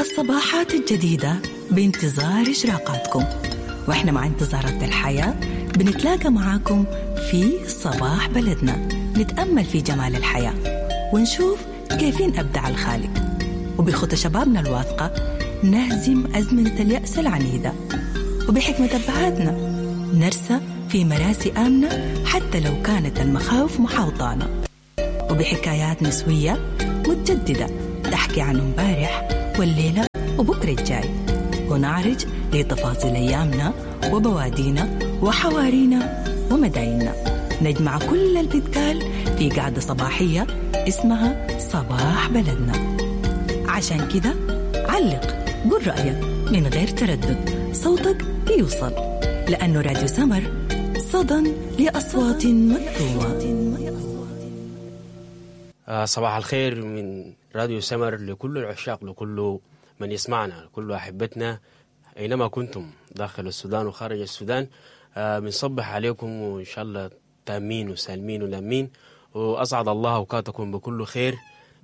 الصباحات الجديدة بانتظار إشراقاتكم، وإحنا مع انتظارات الحياة بنتلاقى معاكم في صباح بلدنا، نتأمل في جمال الحياة ونشوف كيفين أبدع الخالق، وبخطى شبابنا الواثقة نهزم أزمنة اليأس العنيدة، وبحكمة أبهاتنا نرسى في مراسي آمنة حتى لو كانت المخاوف محاوطانا، وبحكايات نسوية متجددة تحكي عن امبارح والليلة وبكرة الجاي، ونعرج لتفاصيل أيامنا وبوادينا وحوارينا ومدايننا. نجمع كل اللي بيتقال في قعدة صباحية اسمها صباح بلدنا. عشان كده علق، قول رأيك من غير تردد، صوتك بيوصل، لأنه راديو سمر صدى لأصوات مكتومة. صباح الخير من راديو سمر لكل العشاق، لكل من يسمعنا، لكل أحبتنا أينما كنتم داخل السودان وخارج السودان. بنصبح عليكم وإن شاء الله تامين وسالمين ولامين، وأسعد الله أوقاتكم بكل خير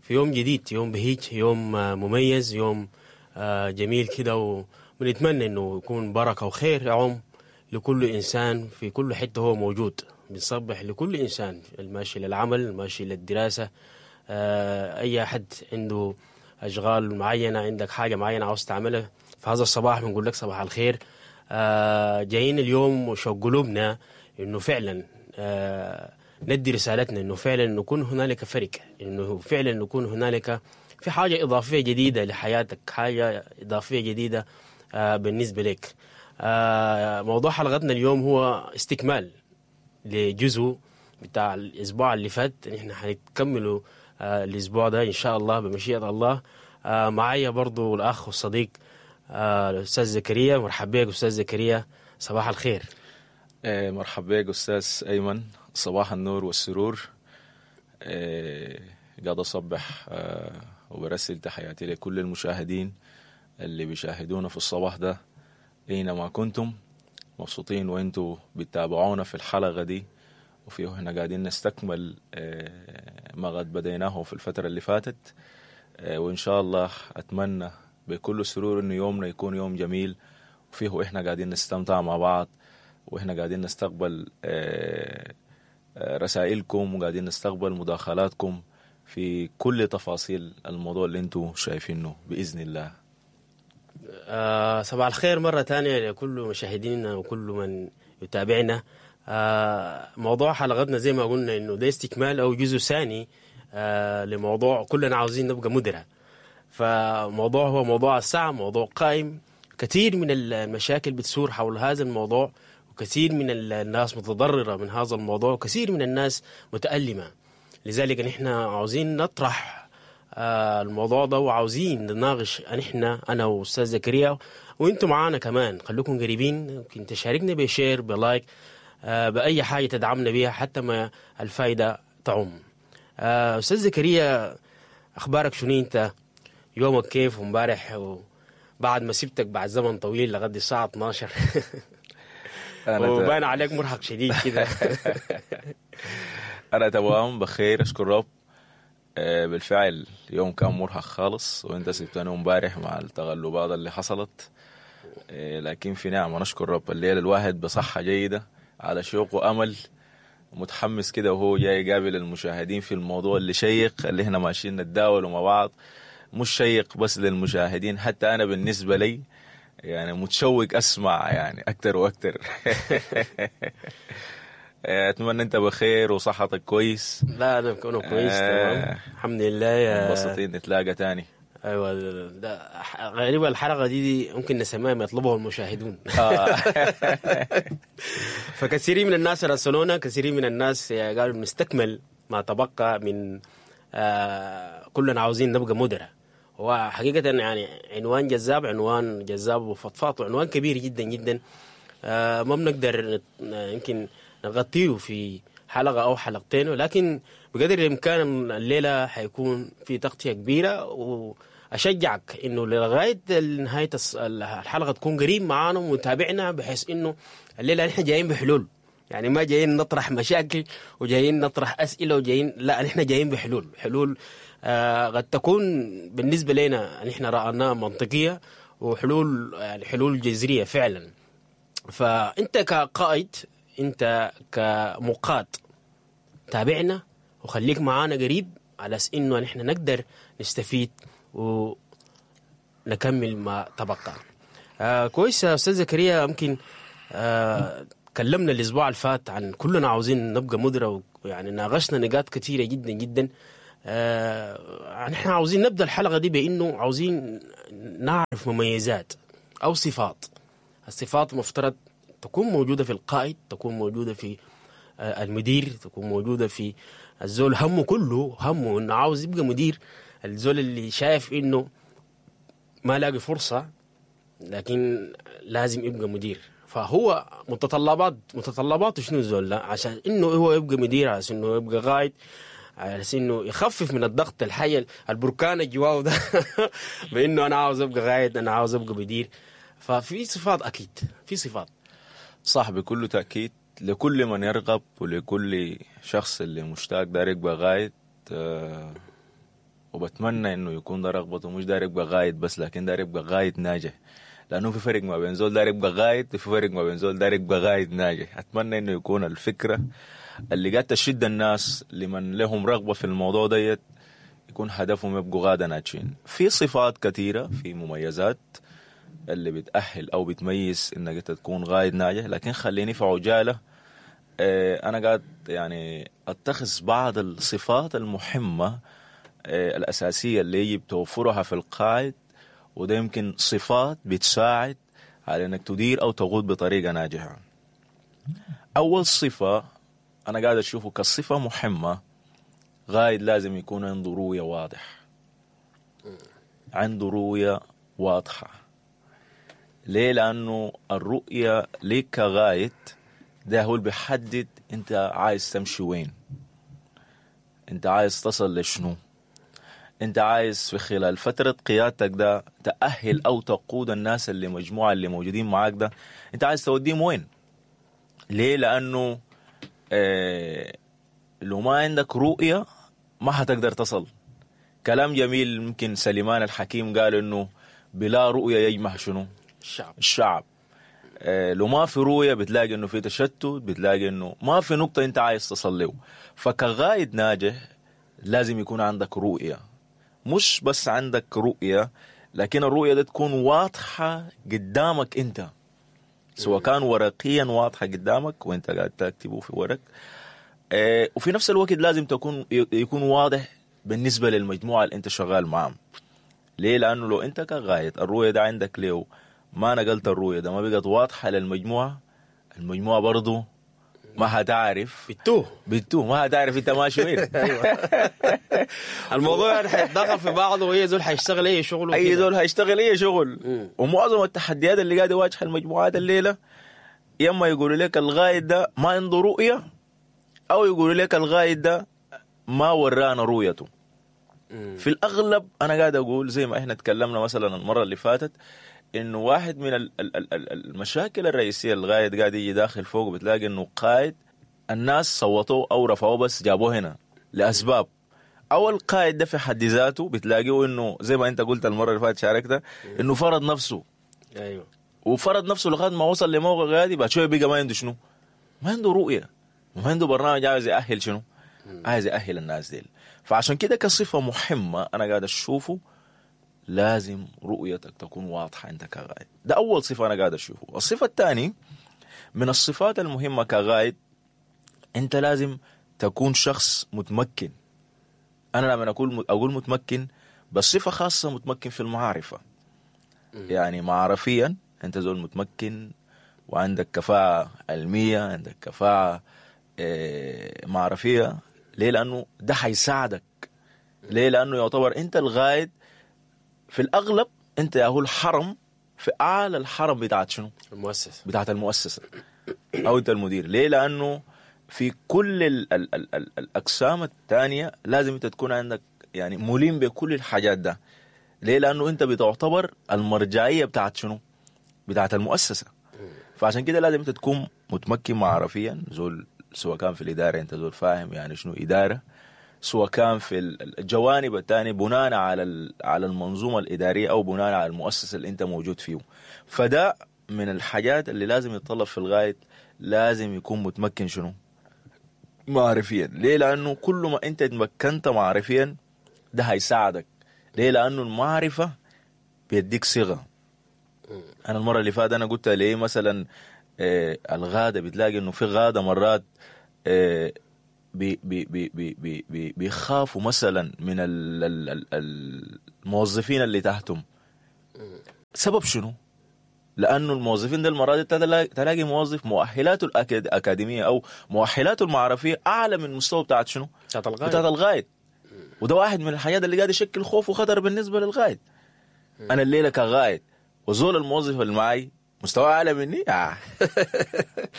في يوم جديد، يوم بهيج، يوم مميز، يوم جميل كده، وبنتمنى إنه يكون بركة وخير يعم لكل إنسان في كل حتة هو موجود. بنصبح لكل إنسان الماشي للعمل، الماشي للدراسة، أي حد عنده أشغال معينة، عندك حاجة معينة عاوز تعملها في هذا الصباح، بنقول لك صباح الخير. جايين اليوم وشوق قلوبنا إنه فعلا ندي رسالتنا، إنه فعلا نكون هنالك فرق، إنه فعلا نكون هنالك في حاجة إضافية جديدة لحياتك، حاجة إضافية جديدة بالنسبة لك. موضوع حلقتنا اليوم هو استكمال لجزء بتاع الأسبوع اللي فات، نحن حنكمله الأسبوع ده إن شاء الله بمشيئة الله. معايا برضو الأخ والصديق الأستاذ زكريا. مرحبا بك أستاذ زكريا، صباح الخير. مرحبا بك أستاذ أيمن، صباح النور والسرور. قاعد أصبح وبرسل تحياتي لكل المشاهدين اللي بيشاهدونا في الصباح ده أينما كنتم، مبسوطين وانتوا بتتابعونا في الحلقة دي، وفيه احنا قاعدين نستكمل ما قد بديناه في الفترة اللي فاتت. وإن شاء الله أتمنى بكل سرور إنه يومنا يكون يوم جميل، وفيه احنا قاعدين نستمتع مع بعض، واحنا قاعدين نستقبل رسائلكم، وقاعدين نستقبل مداخلاتكم في كل تفاصيل الموضوع اللي انتوا شايفينه بإذن الله. صباح الخير مرة تانية لكل مشاهدينا وكل من يتابعنا. موضوع حلقتنا زي ما قلنا إنه ده استكمال أو جزء ثاني لموضوع كلنا عاوزين نبقى مدراء. فموضوع هو موضوع الساعة، موضوع قائم، كثير من المشاكل بتثور حول هذا الموضوع، وكثير من الناس متضررة من هذا الموضوع، وكثير من الناس متألمة. لذلك نحن عاوزين نطرح الموضوع ده، وعاوزين نناقش نحن، أنا وأستاذ زكريا، وأنتم معانا كمان، خلوكم قريبين، ممكن تشاركنا ب share، ب like، بأي حاجة تدعمنا بيها حتى ما الفايدة تعم. أستاذ زكريا، أخبارك شنو؟ أنت يومك كيف ومبارح وبعد ما سبتك بعد زمن طويل لغد الساعة 12 وبان عليك مرهق شديد كده. أنا تمام بخير، أشكر رب. بالفعل يوم كان مرهق خالص، وانت سبتني امبارح مع التغلبات اللي حصلت، لكن في نعمة نشكر رب. الليل الواحد بصحة جيدة، على شوق وأمل، متحمس كده وهو جاي يقابل المشاهدين في الموضوع اللي شيق اللي احنا ماشيين نتداوله مع بعض. مش شيق بس للمشاهدين، حتى أنا بالنسبة لي يعني متشوق أسمع يعني أكتر وأكتر. أتمنى أنت بخير وصحتك كويس. لا أنا بكون كويس تمام الحمد لله. مبسوطين نتلاقى تاني. أيوة، ده غالبا الحلقة دي ممكن نسميها ما يطلبه المشاهدون. فكثيرين من الناس راسلونا، كثيرين من الناس قالوا نستكمل ما تبقى من كلنا عاوزين نبقى مدراء. وحقيقة يعني عنوان جذاب، عنوان جذاب وفضفاض، وعنوان كبير جدا جدا، ما بنقدر يمكن نغطيه في حلقة أو حلقتين، ولكن بقدر الإمكان الليلة حيكون في تغطية كبيرة. وأشجعك إنه لغاية نهاية الحلقة تكون قريب معانا ومتابعنا، بحيث إنه الليلة نحن جايين بحلول، يعني ما جايين نطرح مشاكل وجايين نطرح اسئلة وجايين، لا، نحن جايين بحلول، حلول قد تكون بالنسبة لنا نحن رايناها منطقية، وحلول يعني حلول جذرية فعلا. فانت كقائد، انت كمقاد، تابعنا وخليك معانا قريب على اساس انه نحن نقدر نستفيد ونكمل ما تبقى. كويس يا استاذ زكريا، يمكن تكلمنا الاسبوع اللي فات عن كلنا عاوزين نبقى مدراء، ويعني ناقشنا نقاط كثيرة جدا جدا. نحن عاوزين نبدا الحلقة دي بانه عاوزين نعرف مميزات او صفات، الصفات مفترض تكون موجودة في القائد، تكون موجودة في المدير، تكون موجودة في الزول همه كله همه انه عاوز يبقى مدير، الزول اللي شايف انه ما لاقي فرصة لكن لازم يبقى مدير. فهو متطلباته شنو الزول ده عشان انه هو يبقى مدير، عشان انه يبقى قائد، على انه يخفف من الضغط الحي البركان الجواه ده بانه انا عاوز ابقى قائد، انا عاوز ابقى مدير. ففي صفات، اكيد في صفات. صح، بكل تأكيد لكل من يرغب ولكل شخص اللي مشتاق داير يبقى قائد، وبتمنى انه يكون ده رغبته، مش داير يبقى قائد بس، لكن داير يبقى قائد ناجح، لانه في فرق ما بين زول داير يبقى قائد وفي فرق ما بين زول داير يبقى قائد ناجح. اتمنى انه يكون الفكرة اللي قاعد تشد الناس لمن لهم رغبة في الموضوع ديت يكون هدفهم يبقوا قاده ناجحين. في صفات كثيرة، في مميزات اللي بتأهل او بتميز انك انت تكون قائد ناجح، لكن خليني في عجالة انا قاعد يعني اتخذ بعض الصفات المهمة الاساسية اللي يجب توفرها في القائد، وده يمكن صفات بتساعد على انك تدير او تقود بطريقة ناجحة. اول صفة انا قاعد اشوفه كصفة مهمة، قائد لازم يكون عنده رؤية واضح، عنده رؤية واضحة. ليه؟ لانه الرؤية ليك كقائد ده هو اللي بيحدد انت عايز تمشي وين، انت عايز تصل لشنو، انت عايز في خلال فترة قيادتك ده تأهل او تقود الناس اللي مجموعة اللي موجودين معاك ده، انت عايز توديهم وين. ليه؟ لانه لو ما عندك رؤية ما هتقدر تصل. كلام جميل ممكن سليمان الحكيم قال انه بلا رؤية يجمع شنو؟ الشعب. الشعب. لو ما في رؤية بتلاقي انه في تشتت، بتلاقي انه ما في نقطة انت عايز تصل له. فكقائد ناجح لازم يكون عندك رؤية، مش بس عندك رؤية، لكن الرؤية دي تكون واضحة قدامك انت، سواء كان ورقيا واضحة قدامك وانت قاعد تكتبه في ورق، وفي نفس الوقت لازم يكون واضح بالنسبة للمجموعة اللي انت شغال معهم. ليه؟ لأنه لو انت كقائد الرؤية ده عندك ليه ما نقلت الرؤية ده، ما بقت واضحة للمجموعة، المجموعة برضو ما هتعرف، بتوه ما هتعرف انت ماشي وين. ايوه الموضوع يعني حيتدخل في بعضه، واي زول حيشتغل اي شغل، اي زول هيشتغل اي شغل. ومعظم التحديات اللي قاعد يواجه المجموعات الليلة، يا اما يقولوا لك القائد ده ما عنده رؤية، او يقولوا لك القائد ده ما ورانا رؤيته. في الاغلب انا قاعد اقول زي ما احنا تكلمنا مثلا المرة اللي فاتت، انه واحد من المشاكل الرئيسية القائد قاعد يجي داخل فوق، بتلاقي انه قائد الناس صوتوه او رفعوه بس جابوه هنا لاسباب، او القائد ده في حد ذاته بتلاقيه انه زي ما انت قلت المرة اللي فاتت شاركت انه فرض نفسه. ايوه، وفرض نفسه لغاية ما وصل لموقع غادي، بعد شوية بقى ما عنده شنو؟ ما عنده رؤية، ما عنده برنامج عايز يأهل شنو؟ عايز يأهل الناس ديل. فعشان كده كصفة مهمة انا قاعد اشوفه لازم رؤيتك تكون واضحة أنت كقائد. ده أول صفة أنا قاعد أشوفه. الصفة الثانية من الصفات المهمة كقائد، أنت لازم تكون شخص متمكن. أنا لما أقول متمكن، بس صفة خاصة متمكن في المعرفة. يعني معرفيا أنت زول متمكن، وعندك كفاءة علمية، عندك كفاءة معرفية. ليه؟ لأنه ده حيساعدك. ليه؟ لأنه يعتبر أنت القائد في الأغلب، أنت يا هو الحرم في أعلى الحرم بتاعت شنو؟ المؤسسة، بتاعت المؤسسة، أو أنت المدير. ليه؟ لأنه في كل ال ال ال ال الأقسام الثانية لازم أنت تكون عندك يعني ملم بكل الحاجات ده. ليه؟ لأنه أنت بتعتبر المرجعية بتاعت شنو؟ بتاعت المؤسسة. فعشان كده لازم انت تكون متمكن معرفيا، زول سواء كان في الادارة انت زول فاهم يعني شنو ادارة، سواء كان في الجوانب الثانية بناء على المنظومة الادارية او بناء على المؤسسة اللي انت موجود فيه. فده من الحاجات اللي لازم يتطلب في الغاية، لازم يكون متمكن شنو؟ معرفيا. ليه؟ لانه كل ما انت تمكنت معرفيا ده هيساعدك. ليه؟ لانه المعرفة بيديك صيغة. انا المرة اللي فاتت انا قلت ليه مثلا الغاده، بتلاقي انه في غاده مرات بي بي بي بي بي بي بيخافوا مثلا من الموظفين اللي تحتهم. سبب شنو؟ لانه الموظفين ده المرات تلاقي موظف مؤهلاته الاكاديمية او مؤهلاته المعرفيه اعلى من مستوى بتاعت شنو؟ بتاعت الغايد. بتاعت الغايد. وده واحد من الحاجات اللي قاعد يشكل خوف وخطر بالنسبة للغايد. انا الليلة كغايد وزول الموظف اللي معي مستوى اعلى مني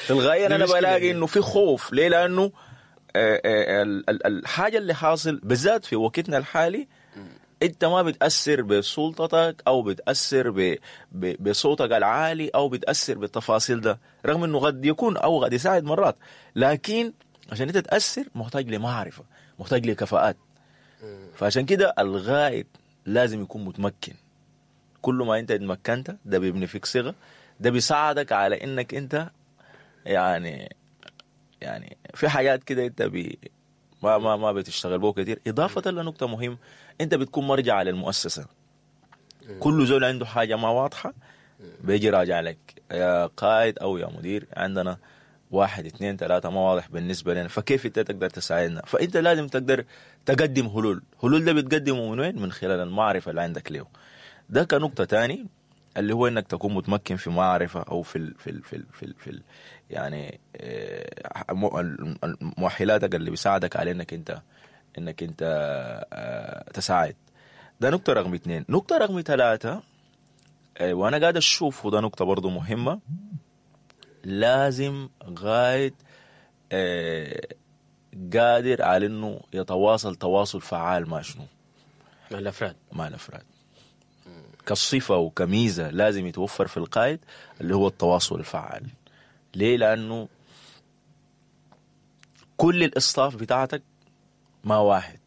تلقائيا انا بلاقي انه في خوف. ليه؟ لانه الحاجة اللي حاصل بالذات في وقتنا الحالي، انت ما بتاثر بسلطتك او بتاثر بصوتك العالي او بتاثر بالتفاصيل ده، رغم انه قد يكون او قد يساعد مرات، لكن عشان انت تاثر محتاج لمعرفة، محتاج لكفاءات. فعشان كده الغائد لازم يكون متمكن. كل ما انت اتمكنت ده بيبني فيك صيغة، ده بيساعدك على انك انت يعني في حاجات كده انت ما ما ما بتشتغل بو كتير. اضافه لنقطة مهم، انت بتكون مرجع للمؤسسه. كل زول عنده حاجة ما واضحة بيجي راجع لك، يا قائد او يا مدير، عندنا 1 2 3 ما واضح بالنسبة لنا، فكيف انت تقدر تساعدنا؟ فانت لازم تقدر تقدم حلول. حلول ده بتقدمه من وين؟ من خلال المعرفة اللي عندك له. ده كنقطه تاني اللي هو انك تكون متمكن في معرفة او في ال في ال في ال في, ال في ال يعني مؤهلاتك اللي بيساعدك على انك انت تساعد. ده نقطة رقم 2. نقطة رقم 3، وانا قاعد اشوف وده نقطة برضو مهمة، لازم غايد قادر على انه يتواصل تواصل فعال مع شنو؟ مع الافراد. مع الافراد كصفة وكميزة لازم يتوفر في القائد اللي هو التواصل الفعال. ليه؟ لأنه كل الإصطاف بتاعتك ما واحد،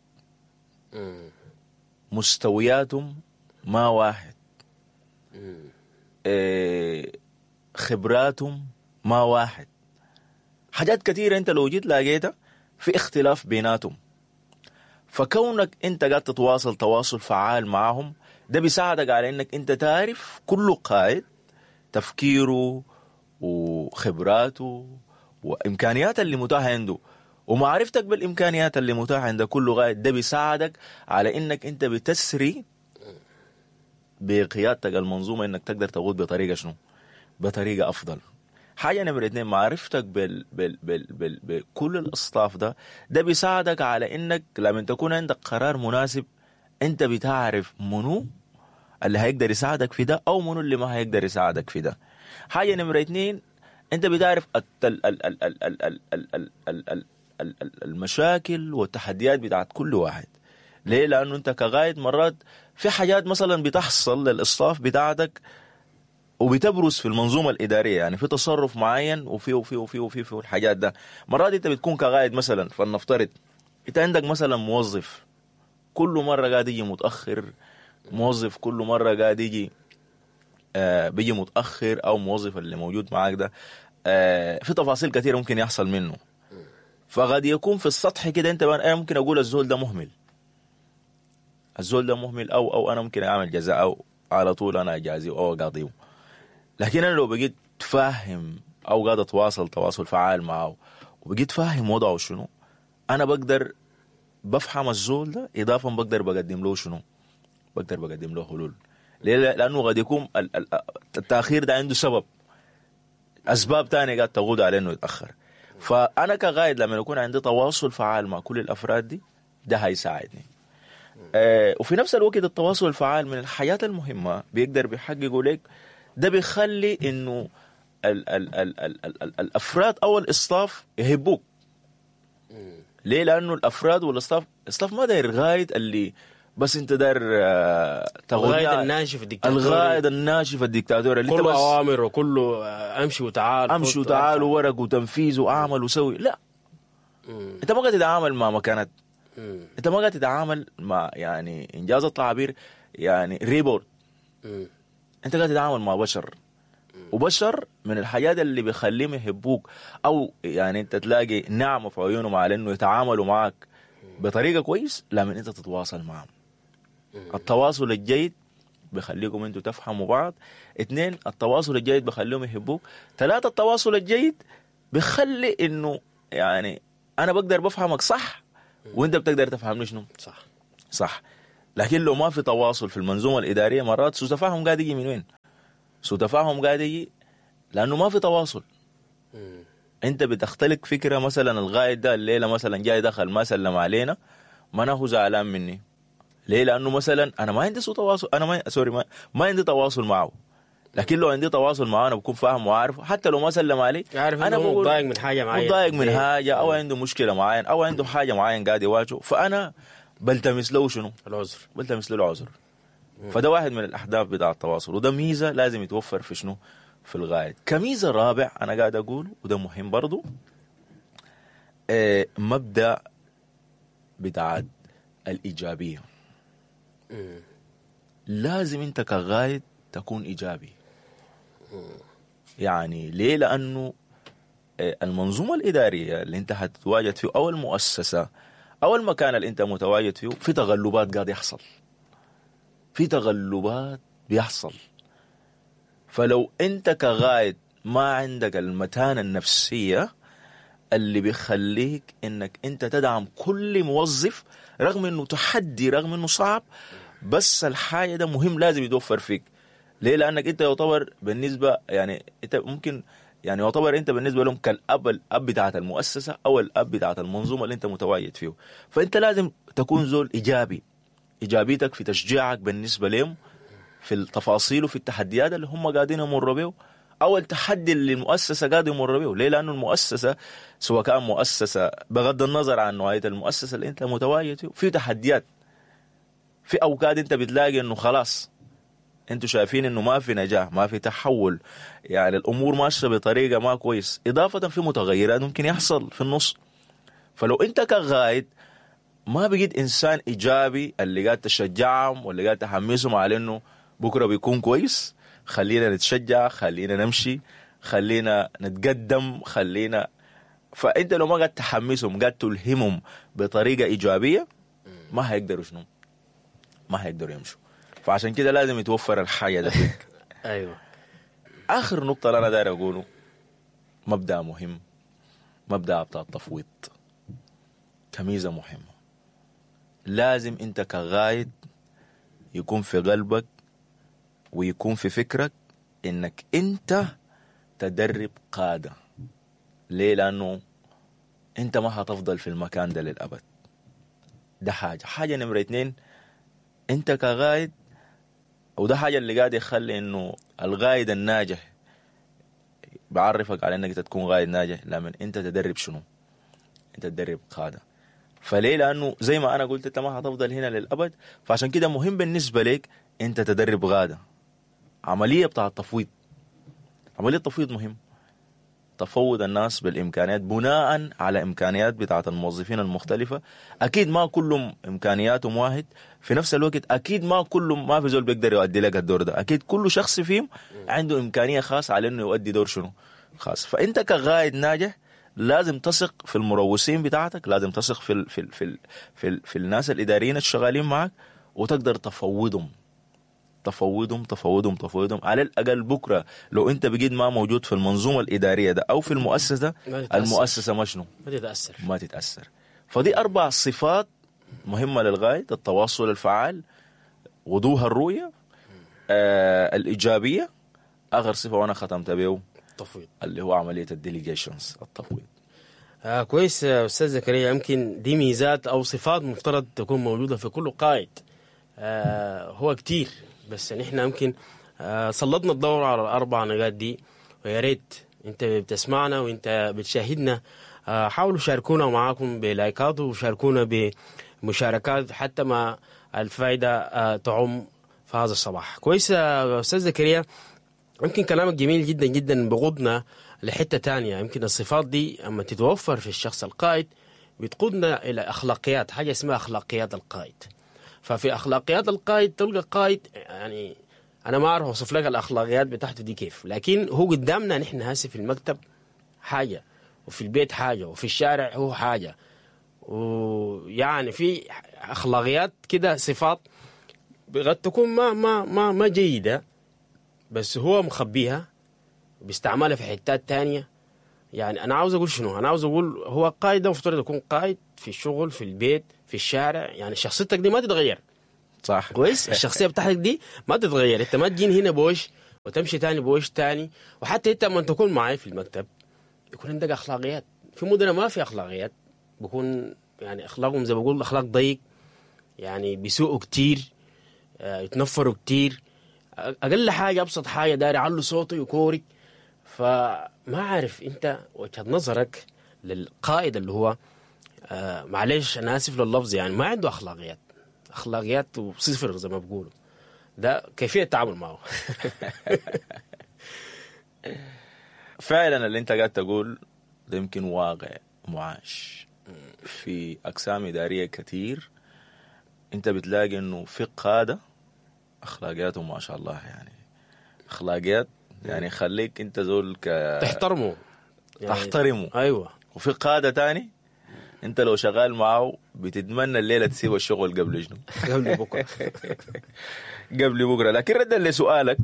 مستوياتهم ما واحد، خبراتهم ما واحد، حاجات كثيرة أنت لو جيت لاقيتها في اختلاف بيناتهم. فكونك أنت قاعد تتواصل تواصل فعال معهم ده بيساعدك على انك انت تعرف كل قائد تفكيره وخبراته وامكانياته اللي متاحة عنده، ومعرفتك بالامكانيات اللي متاحة عند كل قائد ده بيساعدك على انك انت بتسري بقيادتك المنظومة، انك تقدر تقود بطريقة شنو؟ بطريقة افضل. حاجة نمره 2، معرفتك بال بال بال بال بكل الاصطاف ده بيساعدك على انك لما تكون عندك قرار مناسب انت بتعرف منو اللي هيقدر يساعدك في ده او منو اللي ما هيقدر يساعدك في ده. حاجة نمره 2، انت بتعرف المشاكل والتحديات بتاعت كل واحد. ليه؟ لانه انت كغايد مرات في حاجات مثلا بتحصل للاصطاف بتاعتك وبتبرز في المنظومة الادارية، يعني في تصرف معين وفي وفي وفي وفي في الحاجات ده. مرات انت بتكون كغايد مثلا، فلنفترض انت عندك مثلا موظف كل مرة قاعد يجي متأخر، موظف كل مرة قاعد يجي بيجي متأخر، أو موظف اللي موجود معاك ده في تفاصيل كثيرة ممكن يحصل منه. فقد يكون في السطح كده أنت أنا ممكن أقول الزول ده مهمل، الزول ده مهمل، أو أنا ممكن أعمل جزاء أو على طول أنا أجازيه أو أقاضيه. لكن أنا لو بقيت فاهم أو قاعد أتواصل تواصل فعال معه وبقيت فاهم وضعه شنو، أنا بقدر بفهم الزول ده، إضافة بقدر بقدم له شنو؟ بقدر بقدم له حلول. ليه؟ لأنه قد يكون التأخير ده عنده سبب، أسباب تانية قاعد تقود على إنه يتأخر. فأنا كغايد لما يكون عندي تواصل فعال مع كل الأفراد دي ده هيساعدني. وفي نفس الوقت التواصل الفعال من الحياة المهمة بيقدر بيحققه لك، ده بيخلي إنه ال ال ال ال ال ال الأفراد أو الإصطاف يهبوك. ليه؟ لأنه الأفراد والإصطاف، الإصطاف ما داير غايد اللي بس انت داير الغايد الناشف الدكتاتوري. الغايد الناشف الدكتاتوري اللي كله اوامر وكله امشي وتعال، امشي وتعال وورق وتنفيذ واعمل وسوي. لا، انت ما قاعد تتعامل مع مكانات، انت ما قاعد تتعامل مع يعني انجاز التعبير يعني ريبورت، انت قاعد تتعامل مع بشر. وبشر من الحاجات اللي بيخليهم يحبوك او يعني انت تلاقي نعمه في عيونهم على انه يتعاملوا معك بطريقة كويس لما انت تتواصل معهم. التواصل الجيد بيخليكم انتوا تفهموا بعض. 2، التواصل الجيد بيخليهم يحبوك. 3، التواصل الجيد بيخلي انه يعني انا بقدر بفهمك صح وانت بتقدر تفهمني شنو صح. لكن لو ما في تواصل في المنظومة الادارية مرات سوء تفاهم قاعد يجي من وين؟ سوء تفاهم قاعد يجي لانه ما في تواصل. انت بتختلق فكرة، مثلا الغايد ده الليلة مثلا جاي دخل ما سلم علينا، ما هو زعلان مني ليه؟ لانه مثلا انا ما عندي سوء تواصل، انا ما sorry ما عندي تواصل معه. لكن لو عندي تواصل معه انا بكون فاهم وعارف، حتى لو ما سلم علي عارف انا متضايق من حاجة معينة، متضايق من حاجة او عنده مشكلة معينة او عنده حاجة معينة قاعد يواجهه، فانا بلتمس له شنو؟ العذر. بلتمس له العذر. فده واحد من الاهداف بتاع التواصل، وده ميزة لازم يتوفر في شنو؟ في الغايد. كميزه رابع انا قاعد اقوله وده مهم برضو، مبدا بتاع الايجابية. لازم انت كغايد تكون ايجابي. يعني ليه؟ لانه المنظومة الادارية اللي انت هتتواجد فيه او المؤسسة او المكان اللي انت متواجد فيه في تغلبات قاعد يحصل، في تغلبات بيحصل. فلو انت كغايد ما عندك المتانه النفسية اللي بيخليك انك انت تدعم كل موظف رغم انه تحدي رغم انه صعب، بس الحاجة ده مهم لازم يتوفر فيك. ليه؟ لانك انت يعتبر بالنسبة يعني انت ممكن يعني يعتبر انت بالنسبة لهم كالاب، الاب بتاعت المؤسسة او الاب بتاعت المنظومة اللي انت متواجد فيه. فانت لازم تكون زول ايجابي، ايجابيتك في تشجيعك بالنسبة لهم في التفاصيل وفي التحديات اللي هم قاعدين يمروا بيه او التحدي اللي المؤسسة قاعدة يمر بيه. ليه؟ لانه المؤسسة سواء كان مؤسسة بغض النظر عن نوعية المؤسسة اللي انت متواجد فيه، في تحديات، في اوقات انت بتلاقي انه خلاص انتوا شايفين انه ما في نجاح، ما في تحول، يعني الامور ماشية بطريقة ما كويس، اضافه في متغيرات ممكن يحصل في النص. فلو انت كغايد ما بقيت انسان ايجابي اللي قاعد تشجعهم واللي قاعد تحمسهم على انه بكره بيكون كويس، خلينا نتشجع، خلينا نمشي، خلينا نتقدم، خلينا، فانت لو ما قاعد تحمسهم قاعد تلهمهم بطريقة ايجابية ما هيقدروا شنو؟ ما هيقدروا يمشوا. فعشان كده لازم يتوفر الحاجة ده فيك. ايوه. اخر نقطة اللي انا داير اقوله، مبدا مهم، مبدا بتاع التفويض كميزه مهمة. لازم انت كغايد يكون في قلبك ويكون في فكرك انك انت تدرب قاده. ليه؟ لانه انت ما هتفضل في المكان ده للابد. ده حاجة نمره 2، انت كغايد، وده حاجة اللي قاعد يخلي انه الغايد الناجح بعرفك على انك انت تكون غايد ناجح لما انت تدرب شنو؟ انت تدرب قاده. فليه؟ لانه زي ما انا قلت انت ما هتفضل هنا للابد، فعشان كده مهم بالنسبة لك انت تدرب غاده. عملية بتاع التفويض، عملية التفويض مهم، تفوض الناس بالامكانيات بناء على امكانيات بتاعت الموظفين المختلفة. اكيد ما كلهم امكانياتهم واحد، في نفس الوقت اكيد ما كلهم، ما في زول بيقدر يؤدي لك الدور ده، اكيد كل شخص فيهم عنده امكانية خاصة على انه يؤدي دور شنو خاص. فانت كغايد ناجح لازم تثق في المروسين بتاعتك، لازم تثق في ال في ال في ال في, ال في الناس الاداريين الشغالين معك، وتقدر تفوضهم تفوضهم تفوضهم تفوضهم. على الاقل بكره لو انت بقيت ما موجود في المنظومة الادارية ده او في المؤسسة، المؤسسة ما شنو؟ ما تتاثر، ما تتاثر. فدي 4 صفات مهمة للغاية: التواصل الفعال، وضوح الرؤية، الايجابية، اخر صفة وانا ختمت به التفويض اللي هو عملية ال delegations، التفويض. كويس يا استاذ زكريا، يمكن دي ميزات او صفات مفترض تكون موجودة في كل قائد. هو كتير، بس نحن يمكن سلطنا الدور على الاربع نقاط دي، ويا ريت انت بتسمعنا وانت بتشاهدنا حاولوا شاركونا معاكم بلايكات وشاركونا بمشاركات حتى ما الفائدة تعم في هذا الصباح. كويس يا استاذ زكريا، يمكن كلامك جميل جدا جدا، بغضنا لحته تانية. يمكن الصفات دي اما تتوفر في الشخص القائد بتقودنا الى اخلاقيات، حاجة اسمها اخلاقيات القائد. ففي اخلاقيات القائد تلقى قائد، يعني انا ما اعرف اوصف لك الاخلاقيات بتاعته دي كيف، لكن هو قدامنا نحن هسه في المكتب حاجة، وفي البيت حاجة، وفي الشارع هو حاجة، ويعني في اخلاقيات كده، صفات قد تكون ما ما ما ما جيدة، بس هو مخبيها بيستعملها في حتات تانية. يعني انا عاوز اقول شنو؟ انا عاوز اقول هو قائد ده المفترض يكون قائد في الشغل، في البيت، في الشارع، يعني شخصيتك دي ما تتغير. صح. كويس، الشخصية بتاعتك دي ما تتغير، انت ما تجين هنا بوش وتمشي تاني بوش تاني. وحتى انت لما تكون معي في المكتب يكون عندك اخلاقيات. في مدن ما في اخلاقيات، بكون يعني اخلاقهم زي ما بقول اخلاق ضيق، يعني بيسوقوا كتير، يتنفروا كتير، اقل حاجة ابسط حاجة داير يعلوا صوته يكورك. فما عارف انت وجهه نظرك للقائد اللي هو معلش انا اسف لللفظ، يعني ما عنده اخلاقيات، اخلاقيات صفر زي ما بيقولوا، ده كيفية التعامل معه؟ فعلا اللي انت قاعد تقول ده يمكن واقع معاش في اقسام ادارية كثير. انت بتلاقي انه في قاده اخلاقياتهم ما شاء الله، يعني اخلاقيات يعني خليك انت زول تحترمه يعني، تحترمه. ايوه. وفي قاده تاني انت لو شغال معه بتتمنى الليلة تسيب الشغل قبل شنو؟ قبل بكره. قبل بكره. لكن ردا لسؤالك،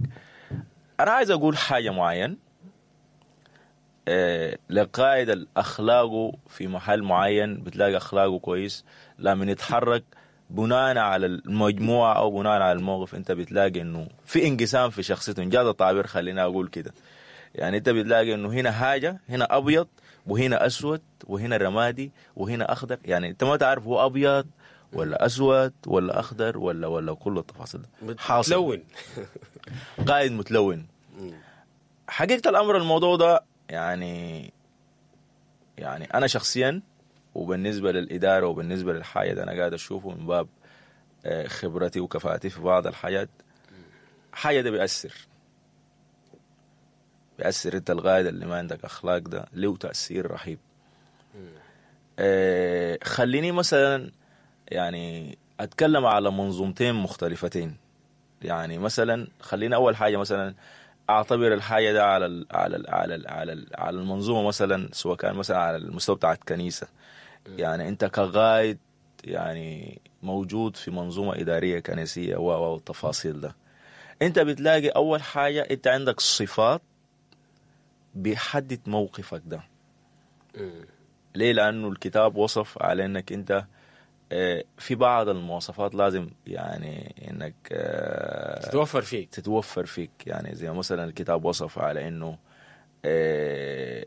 انا عايز اقول حاجة معين. لقائد الاخلاقه في محل معين بتلاقي اخلاقه كويس، لما يتحرك بناء على المجموعة او بناء على الموقف انت بتلاقي انه في انقسام في شخصيته، انجاز التعبير خلينا اقول كده. يعني انت بتلاقي انه هنا حاجة، هنا ابيض وهنا اسود وهنا رمادي وهنا اخضر، يعني انت ما تعرف هو ابيض ولا اسود ولا اخضر ولا كل التفاصيل ده حاصل. متلون. قائد متلون. حقيقة الامر الموضوع ده يعني انا شخصيا وبالنسبة للادارة وبالنسبة للحاجة ده انا قاعد اشوفه من باب خبرتي وكفاءتي في بعض الحاجات، حاجة ده بيأثر. انت القائد اللي ما عندك اخلاق ده له تأثير رهيب. خليني مثلا يعني اتكلم على منظومتين مختلفتين. يعني مثلا خلينا اول حاجة مثلا اعتبر الحاجة ده على ال على ال على ال على, ال على المنظومة مثلا، سواء كان مثلا على المستوى بتاع الكنيسة. يعني انت كقائد يعني موجود في منظومة ادارية كنسية والتفاصيل ده، انت بتلاقي اول حاجة انت عندك صفات بيحدد موقفك ده. ليه؟ لانه الكتاب وصف على انك انت في بعض المواصفات لازم يعني انك تتوفر فيك. يعني زي مثلا الكتاب وصف على انه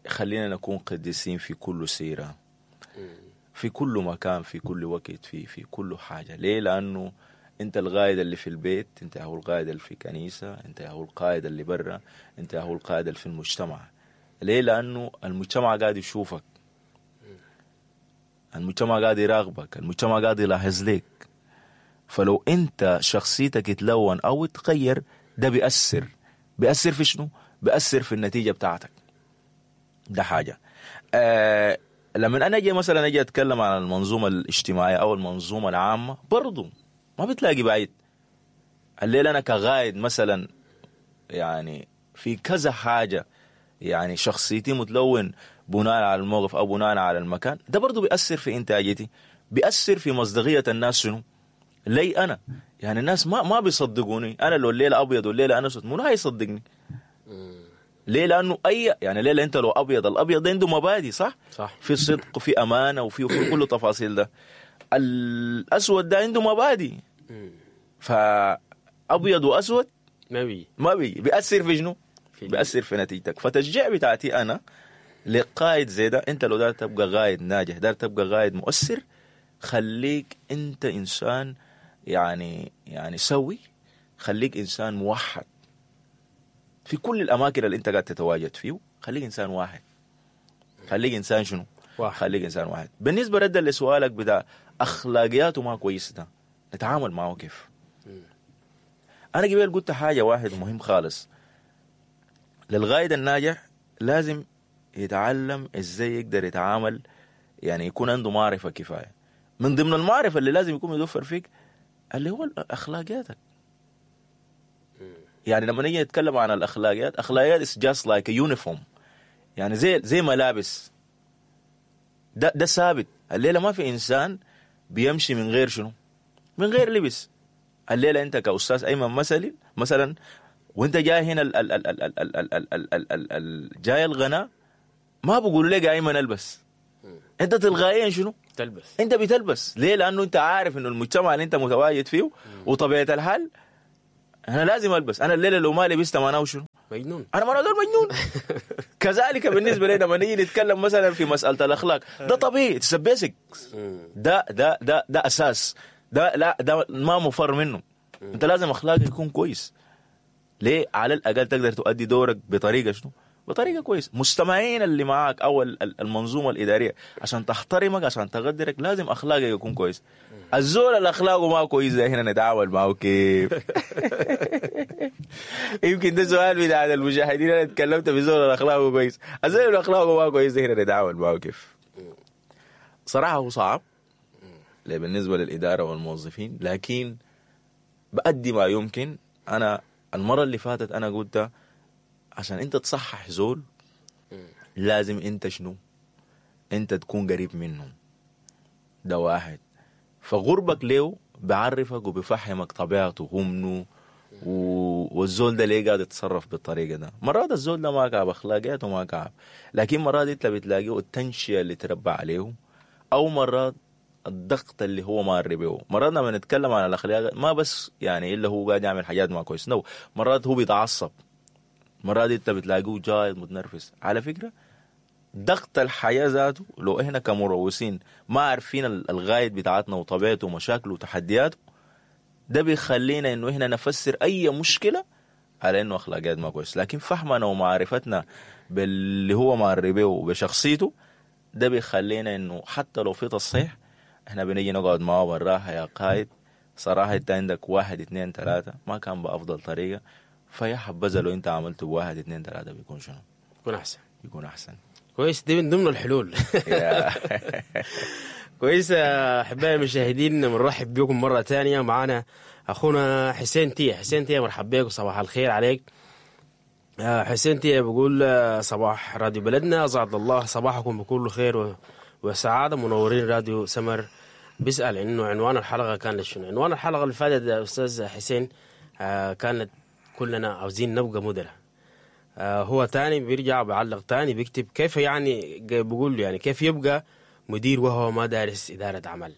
خلينا نكون قديسين في كل سيرة، في كل مكان، في كل وقت، في كل حاجة. ليه؟ لانه انت القائد اللي في البيت، انت هو القائد اللي في كنيسة، انت هو القائد اللي برا، انت هو القائد اللي في المجتمع. ليه؟ لانه المجتمع قاعد يشوفك، المجتمع قاعد يراقبك، المجتمع قاعد يلاحظ لك. فلو انت شخصيتك تلون او تغير ده بيأثر في شنو؟ بيأثر في النتيجة بتاعتك. ده حاجة. لما انا اجي مثلا اجي اتكلم عن المنظومة الاجتماعية او المنظومة العامة، برضو ما بتلاقي بعيد. الليلة انا كغايد مثلا يعني في كذا حاجة، يعني شخصيتي متلون بناء على الموقف او بناء على المكان، ده برضو بيأثر في انتاجيتي، بيأثر في مصداقية الناس. شنو لي انا؟ يعني الناس ما بيصدقوني. انا لو الليلة ابيض والليلة انا اسود منو هيصدقني؟ ليه؟ لانه اي يعني ليلة انت لو ابيض، الابيض ده عنده مبادئ، صح؟ صح، في صدق وفي امانه وفي كل التفاصيل ده. الاسود ده عنده مبادئ، فابيض واسود ما بي بيأثر في شنو؟ بيأثر في نتيجتك. فتشجيع بتاعتي انا لقائد زي ده، انت لو دار تبقى قائد ناجح، دار تبقى قائد مؤثر، خليك انت انسان يعني سوي، خليك انسان موحد في كل الاماكن اللي انت قاعد تتواجد فيه، خليك انسان واحد. خليك انسان شنو؟ واحد. خليك انسان واحد. بالنسبة ردا لسؤالك بتاع اخلاقياته ما كويسة ده، نتعامل معه كيف؟ انا قبل قلت حاجة واحد مهم خالص، للقائد الناجح لازم يتعلم ازاي يقدر يتعامل، يعني يكون عنده معرفة كفاية. من ضمن المعرفة اللي لازم يكون متوفر فيك اللي هو اخلاقياتك. يعني لما نيجي نتكلم عن الاخلاقيات، اخلاقيات is just like a uniform، يعني زي ملابس، ده ثابت. الليلة ما في انسان بيمشي من غير شنو؟ من غير لبس. الليلة انت كاستاذ ايمن مثلا وانت جاي هنا ال ال ال ال ال ال ال ال ال ال ال جاي الغناء، ما بقولوا لك يا ايمن البس، انت تلقائيا شنو؟ تلبس. انت بتلبس. ليه؟ لانه انت عارف انه المجتمع اللي انت متواجد فيه وطبيعه الحال انا لازم البس. انا الليلة لو ما لبست معناه شنو؟ مجنون. انا معناه مجنون. كذلك بالنسبة لنا لما نيجي نتكلم مثلا في مسالة الاخلاق، ده طبيعي، it's basic، ده ده ده ده اساس، ده لا ده ما مفر منه. انت لازم اخلاقك يكون كويس. ليه؟ على الاقل تقدر تؤدي دورك بطريقة شنو؟ بطريقة كويس. مستمعين اللي معاك او المنظومة الادارية عشان تحترمك، عشان تقدرك، لازم اخلاقك يكون كويس. الزول اللي اخلاقه ما كويس ده هنا نتعامل معه كيف؟ يمكن ده سؤال بتاع المشاهدين. انا اتكلمت في زول اللي اخلاقه كويس، الزول اللي اخلاقه ما كويس ده هنا نتعامل معه كيف؟ صراحة هو صعب بالنسبة للادارة والموظفين، لكن بأدي ما يمكن. انا المرة اللي فاتت انا قلت عشان انت تصحح زول لازم انت شنو؟ انت تكون قريب منه. ده واحد. فغربك ليه بعرفك وبفهمك طبيعته هو منو، والزول ده ليه قاعد يتصرف بالطريقة ده. مرات الزول ده ما كعب اخلاقياته ما كعب، لكن مرات انت بتلاقيه التنشئه اللي تربى عليه، او مرات الضغط اللي هو مار به. مرات لما نتكلم عن الاخلاق ما بس يعني الا هو قاعد يعمل حاجات ما كويس، no، مرات هو بيتعصب، مرات انت بتلاقيه جاي متنرفز. على فكرة ضغط الحياة ذاته لو احنا كمروسين ما عارفين الغاية بتاعتنا وطبيعته ومشاكله وتحدياته، ده بيخلينا انه احنا نفسر اي مشكلة على انه اخلاقيات ما كويس. لكن فهمنا ومعرفتنا باللي هو مار به وبشخصيته ده بيخلينا انه حتى لو في تصحيح احنا بنيجي نقعد معه بالراحة. يا قائد صراحة انت عندك 1 2 3 ما كان بافضل طريقه، فيا حبذا لو انت عملته ب1 2 3 بيكون شنو؟ بيكون احسن. بيكون احسن. كويس، دي من ضمن الحلول. كويس احبائي المشاهدين، بنرحب بكم مرة ثانية. معانا اخونا حسين تيه. حسين تيه مرحب بك وصباح الخير عليك. حسين تيه بيقول صباح راديو بلدنا، اسعد الله صباحكم بكل خير وسعادة، منورين راديو سمر. بيسال انه عنوان الحلقة كان شنو؟ عنوان الحلقة اللي فاتت يا استاذ حسين كانت كلنا عاوزين نبقى مدراء. هو تاني بيرجع بيعلق تاني بيكتب كيف يعني، بيقول يعني كيف يبقى مدير وهو ما دارس إدارة أعمال؟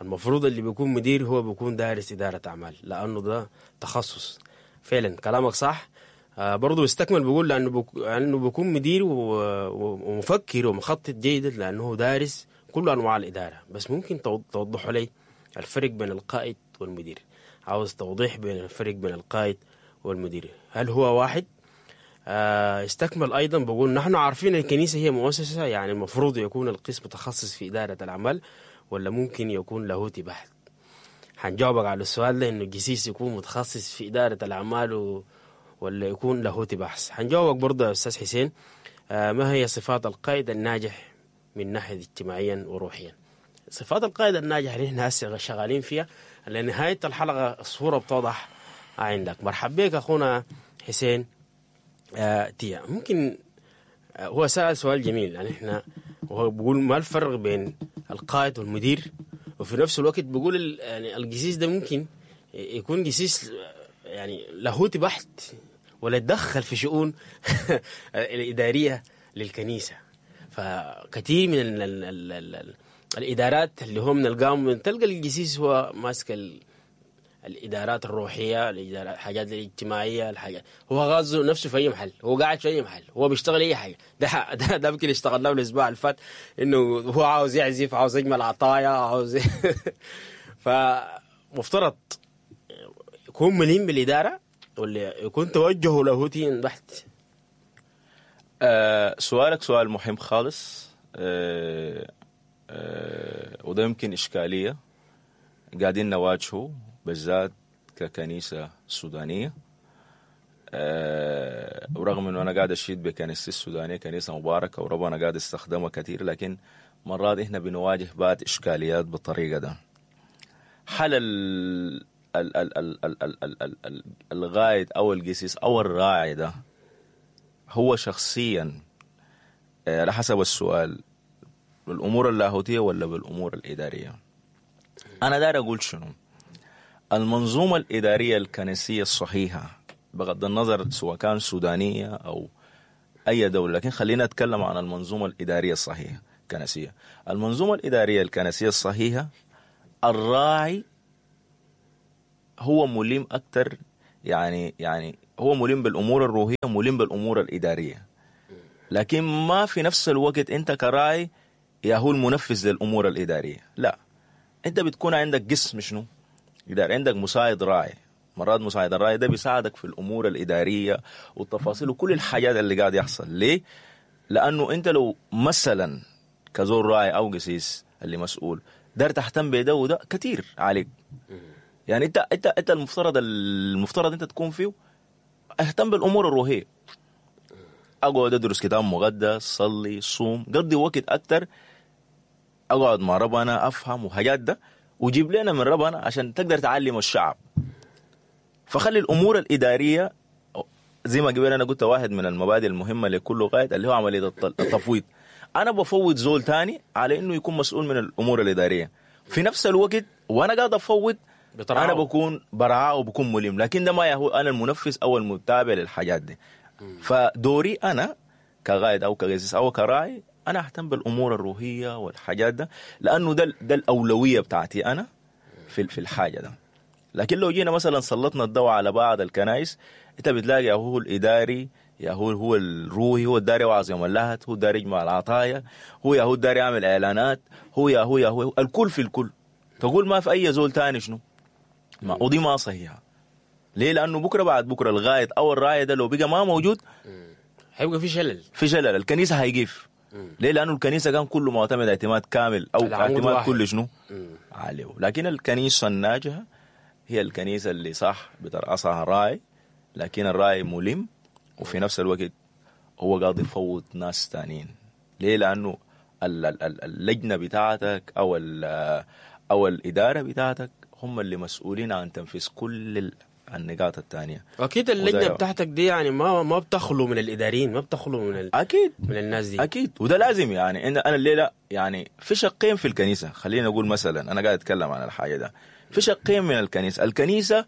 المفروض اللي بيكون مدير هو بيكون دارس إدارة أعمال، لأنه ده تخصص. فعلا كلامك صح. برضو استكمل بيقول لأنه بيكون مدير ومفكر ومخطط جيدا لأنه دارس كل أنواع الإدارة. بس ممكن توضحوا لي الفرق بين القائد والمدير؟ عاوز توضيح بين الفرق بين القائد والمدير، هل هو واحد؟ استكمل أيضا بقول نحن عارفين الكنيسة هي مؤسسة، يعني المفروض يكون القسم متخصص في إدارة الأعمال ولا ممكن يكون لاهوتي بحت؟ حنجاوبك على السؤال ده، إنه الجسيس يكون متخصص في إدارة الأعمال ولا يكون لاهوتي بحث. حنجاوبك برضه يا أستاذ حسين. ما هي صفات القائد الناجح من ناحية اجتماعيا وروحيا؟ صفات القائد الناجح اللي احنا هسه شغالين فيها لنهاية الحلقة الصورة بتوضح عندك. مرحب بك أخونا حسين تيا. ممكن هو سأل سؤال جميل، يعني احنا وهو بيقول ما الفرق بين القائد والمدير، وفي نفس الوقت بيقول يعني الجسيس ده ممكن يكون جسيس يعني لاهوتي بحت ولا يتدخل في شؤون الإدارية للكنيسة. فكثير من ال ال ال ال ال الإدارات اللي هم نلقاهم تلقى الجسيس هو ماسك الإدارات الروحية، الإدارات الحاجات الاجتماعية، الحاجات هو غاز نفسه في أي محل، هو قاعد في أي محل، هو بيشتغل أي حاجة. ده يمكن اشتغلناه الأسبوع اللي فات، إنه هو عاوز يعزف، عاوز يجمل عطايا، عاوز فمفترض يكون مليم بالإدارة ولا يكون توجهه لاهوتي بحت؟ سؤالك سؤال مهم خالص، وده يمكن إشكالية قاعدين نواجهه بالذات ككنيسة سودانية. ورغم انه انا قاعد اشيد بكنيستي السودانية، كنيسة مباركة وربنا قاعد يستخدمها كثير، لكن مرات احنا بنواجه بعض اشكاليات بالطريقة ده. حل ال ال ال ال ال ال ال ال ال الغايد او القسيس او الراعي ده هو شخصيا، على حسب السؤال، بالامور اللاهوتية ولا بالامور الادارية؟ انا داير اقول شنو؟ المنظومة الادارية الكنسيه الصحيحة، بغض النظر سواء كان سودانيه او اي دولة، لكن خلينا نتكلم عن المنظومة الادارية الصحيحة الكنسيه. المنظومة الادارية الكنسيه الصحيحة، الراعي هو ملم اكثر، يعني هو ملم بالامور الروحية، ملم بالامور الادارية، لكن ما في نفس الوقت انت كراعي يا هو المنفذ للامور الادارية. لا، انت بتكون عندك قسم شنو اداري، عندك مساعد راعي. مرات مساعد الراعي ده بيساعدك في الامور الادارية والتفاصيل وكل الحاجات اللي قاعد يحصل. ليه؟ لانه انت لو مثلا كزول راعي او قسيس اللي مسؤول دار تهتم بده وده كتير عليك. يعني انت انت انت المفترض انت تكون فيه اهتم بالامور الروحية، اقعد ادرس كتاب مقدس، صلي، صوم، قضي وقت اكتر، اقعد مع ربنا افهم وحاجات ده، وجيب لنا من ربنا عشان تقدر تعلم الشعب. فخلي الامور الادارية زي ما قبل انا قلت واحد من المبادئ المهمة لكل قائد اللي هو عملية التفويض. انا بفوض زول تاني على انه يكون مسؤول من الامور الادارية في نفس الوقت، وانا قاعد افوض بترعاه. انا بكون برعاه وبكون ملم، لكن ده ما هو انا المنفذ او المتابع للحاجات دي. فدوري انا كقائد او كقسيس او كراعي انا اهتم بالامور الروحية والحاجات ده، لانه ده الاولوية بتاعتي انا في الحاجة ده. لكن لو جينا مثلا سلطنا الضوء على بعض الكنائس، انت بتلاقي يا هو الاداري، يا هو الروحي، هو الداري وعظ يوم اللهت، هو الداري يجمع العطايا، هو يا هو الداري يعمل اعلانات، هو يا هو يا هو الكل في الكل. تقول ما في اي زول تاني شنو؟ ما ودي ما صحيحه. ليه؟ لانه بكره بعد بكره الغايد او الراعي ده لو بقى ما موجود هيبقى في شلل، في شلل، الكنيسة هيقف. ليه؟ لانه الكنيسة كان كله معتمد اعتماد كامل او اعتماد كل شنو عليه. لكن الكنيسة الناجحة هي الكنيسة اللي صح بترأسها راعي، لكن الراعي ملم وفي نفس الوقت هو قاعد يفوض ناس تانيين. ليه؟ لانه اللجنة بتاعتك او الادارة بتاعتك هم اللي مسؤولين عن تنفيذ كل النقاط الثانية. اكيد اللجنة بتاعتك دي يعني ما بتخلو من الاداريين، ما بتخلو من اكيد من الناس دي، اكيد. وده لازم. يعني انا الليلة يعني في شقين في الكنيسة، خلينا نقول مثلا انا قاعد اتكلم عن الحاجة ده، في شقين من الكنيسة. الكنيسة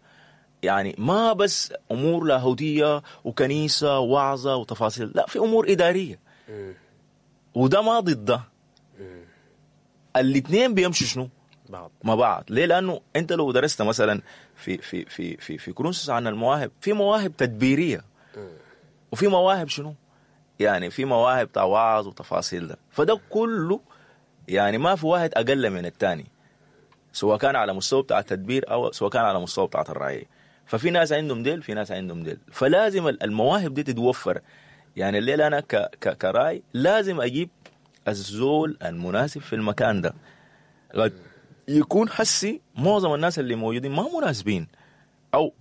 يعني ما بس امور لاهوتيه وكنيسه وعظه وتفاصيل، لا، في امور ادارية. وده ما ضد ده، الاثنين بيمشوا شنو بعض مع بعض. ليه؟ لانه انت لو درست مثلا في في في في في كورنثوس عن المواهب، في مواهب تدبيريه وفي مواهب شنو؟ يعني في مواهب وعظ وتفاصيل ده. فده كله يعني ما في واحد اقل من الثاني، سواء كان على مستوى بتاع التدبير او سواء كان على مستوى بتاع الرعية. ففي ناس عندهم ديل، في ناس عندهم ديل، فلازم المواهب دي تتوفر. يعني الليلة انا كراي لازم اجيب الزول المناسب في المكان ده. قد يكون حسي معظم الناس اللي موجودين ما مناسبين او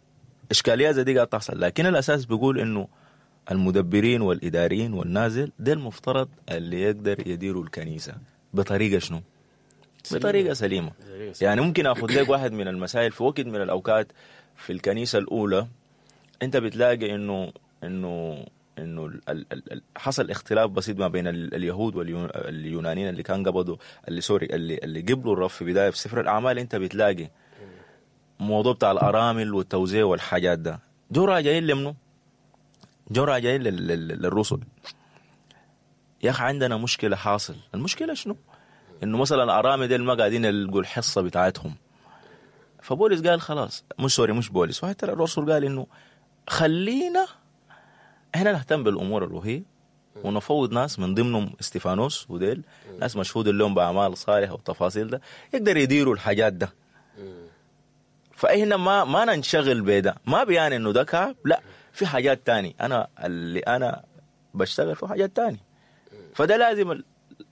اشكاليات زي دي قاعد تحصل، لكن الاساس بيقول انه المدبرين والاداريين والنازل ده المفترض اللي يقدر يديروا الكنيسة بطريقة شنو؟ بطريقة سليمة. يعني ممكن اخذ لك واحد من المسائل في وقت من الاوقات في الكنيسة الاولى، انت بتلاقي انه انه انه حصل اختلاف بسيط ما بين اليهود واليونانيين اللي كان قبضوا اللي قبلوا الرب في بداية في سفر الاعمال. انت بتلاقي موضوع بتاع الارامل والتوزيع والحاجات ده، جو راجعين لمنو؟ جو راجعين للرسل. يا اخي عندنا مشكلة حاصل، المشكلة شنو؟ انه مثلا الارامل ديل ما قاعدين يلقوا الحصة بتاعتهم. فبولس قال خلاص، مش بولس، واحد الرسل قال انه خلينا احنا نهتم بالامور الروحية ونفوض ناس من ضمنهم استفانوس وديل ناس مشهود لهم باعمال صالحه والتفاصيل ده، يقدر يديروا الحاجات ده. فاحنا ما ننشغل بده، ما بيعني انه ده كعب، لا، في حاجات تاني انا اللي انا بشتغل في حاجات تاني. فده لازم